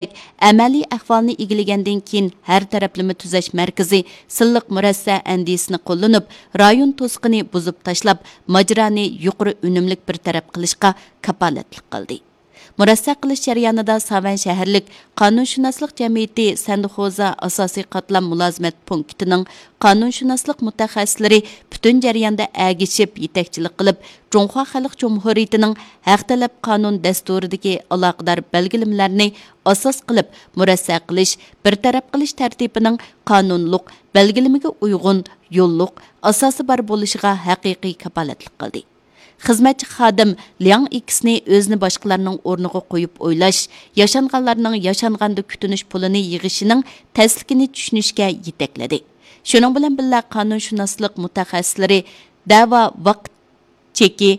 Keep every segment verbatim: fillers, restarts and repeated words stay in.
ئەمەلىي ئەھۋالنى ئىگىلىگەندىن كېيىن، ھەر تەرەپلىمە تۈزەش مەركىزى سىنلىق مۇرەسسە ئەندىزىسىنى قوللىنىپ، رايون توسۇقىنى بۇزۇپ تاشلاپ، ماجىرانى يۇقىرى ئۈنۈملۈك بىر تەرەپ قىلىشقا كاپالەتلىك قىلدى. مۇرەسسە قىلىش جەريانىدا ساۋەن شەھەرلىك قانۇنشۇناسلىق جەمئىيىتى سەندىخوزا ئاساسىي قاتلام مۇلازىمەت پونكىتىنىڭ قانۇنشۇناسلىق مۇتەخەسسىسلىرى پۈتۈن جەرياندا ئەگىشىپ يېتەكچىلىك قىلىپ، جۇڭخۇا خەلق جۇمھۇرىيىتىنىڭ ھەق تەلەپ قانۇن دەستۇرىدىكى ئالاقىدار بەلگىلىمىلەرنى ئاساس قىلىپ مۇرەسسە قىلىش، بىر تەرەپ قىلىش تەرتىپىنىڭ قانۇنلۇق بەلگىلىمىگە ئۇيغۇن، يوللۇق ئاساسى بار بولۇشىغا ھەقىقىي كاپالەتلىك قىلدى. خىزمەتچى خادىم لياڭ ئىكىسنى ئۆزىنى باشقىلارنىڭ ئورنىغا قويۇپ ئويلاش، ياشانغانلارنىڭ ياشانغاندا كۈتۈنۈش پۇلىنى يىغىشىنىڭ تەسلىكىنى چۈشىنىشكە يېتەكلىدى. شۇنىڭ بىلەن بىللە، قانۇنشۇناسلىق مۇتەخەسسىسلىرى دەۋا ۋاقىت چېكى،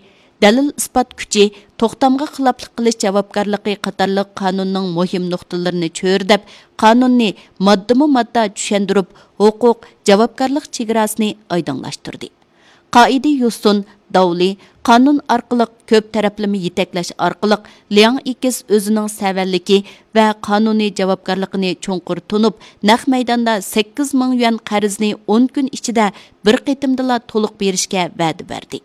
دەلىل-ئىسپات كۈچى، توختامغا خىلاپلىق قىلىش جاۋابكارلىقى قاتارلىق قانۇننىڭ مۇھىم نۇقتىلىرىنى چۆرىدەپ، قانۇننى ماددىمۇ ماددا چۈشەندۈرۈپ، ھوقۇق، جاۋابكارلىق چېگراسىنى ئايدىڭلاشتۇردى. قائىدە يوسۇن، داۋلى، قانۇن ئارقىلىق كۆپ تەرەپلىمە يېتەكلەش ئارقىلىق، لياڭ ئىكىس ئۆزىنىڭ سەۋەنلىكى ۋە قانۇنىي جاۋابكارلىقىنى چوڭقۇر تونۇپ، نەق مەيداندا سەككىز مىڭ يۈەن قەرزنى ئون كۈن ئىچىدە بىر قېتىمدىلا تولۇق بېرىشكە ۋەدە بەردى.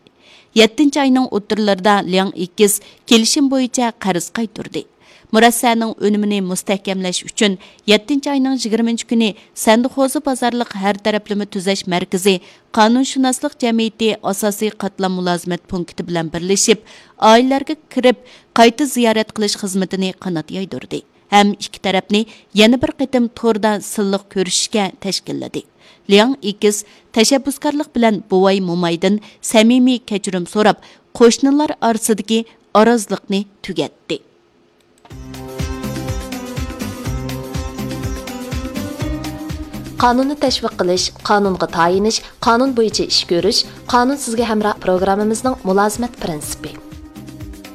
يەتتىنچى ئاينىڭ ئوتتۇرىلىرىدا لياڭ ئىكىس كېلىشىم بويىچە قەرز قايتۇردى. مۇرەسسەنىڭ ئۈنۈمىنى مۇستەھكەملەش ئۈچۈن، يەتتىنچى ئاينىڭ يىگىرمىنچى كۈنى سەندىخوزا بازارلىق ھەر تەرەپلىمە تۈزەش مەركىزى قانۇنشۇناسلىق جەمئىيىتى ئاساسىي قاتلام مۇلازىمەت پونكىتى بىلەن بىرلىشىپ، ئائىلىلەرگە كىرىپ، قايتا زىيارەت قىلىش خىزمىتىنى قانات يايدۇردى ھەم ئىككى تەرەپنى يەنە بىر قېتىم توردا سىنلىق كۆرۈشۈشكە تەشكىللىدى. لياڭ ئىكىس تەشەببۇسكارلىق بىلەن بوۋاي-مومايدىن سەمىمىي كەچۈرۈم سوراپ، قوشنىلار ئارىسىدىكى ئارازلىقنى تۈگەتتى. قانۇننى تەشۋىق قىلىش، قانۇنغا تايىنىش، قانۇن بويىچە ئىش كۆرۈش، قانۇن سىزگە ھەمراھ پروگراممىمىزنىڭ مۇلازىمەت پىرىنسىپى.